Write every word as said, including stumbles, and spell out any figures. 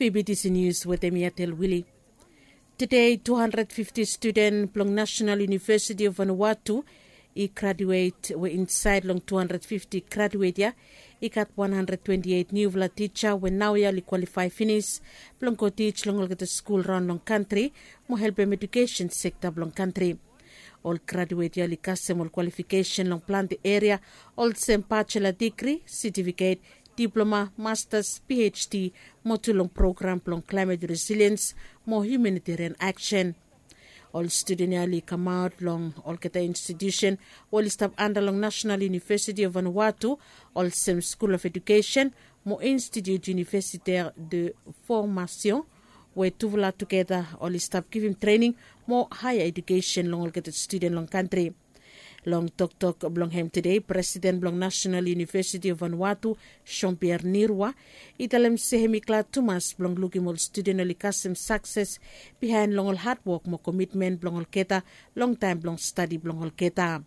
Pbtc Nius wetem mi Atel Wili. Tede tu handred fifti studen blong Nasenal Univesiti of Vanuatu i graduet we insaed long tu handred fifti graduet ya i gat wan handred twenti eit niufala tija we naoia oli kwalifae finis blong go tij long olgeta skul raon long kantri mo helpem edukesen sekta blong kantri. Ol graduet ya oli kasem ol kwalifikesen long plante eria olsem bacela digri, setifiket, diploma, mastas, phd mo tu long program blong klaemet resiliens mo hiumaniterian aksen. Ol studen ya oli kamaot long olgeta institiusen we oli stap anda long Nasenal Univesiti of Vanuatu olsem Skul of Edukesen mo Institut Universitaire de Formation, we tufala tugeta oli stap givim trening mo haea edukesen long olgeta studen long kantri. Long toktok blong hem tede, presiden blong Nasenal Univesiti of Vanuatu, Jean Pierre Nirwa, i talem se hem i glad tumas blong lukim ol studen oli kasem sakses bihaen long ol hadwok mo komitmen blong olgeta long taem blong stadi blong olgeta.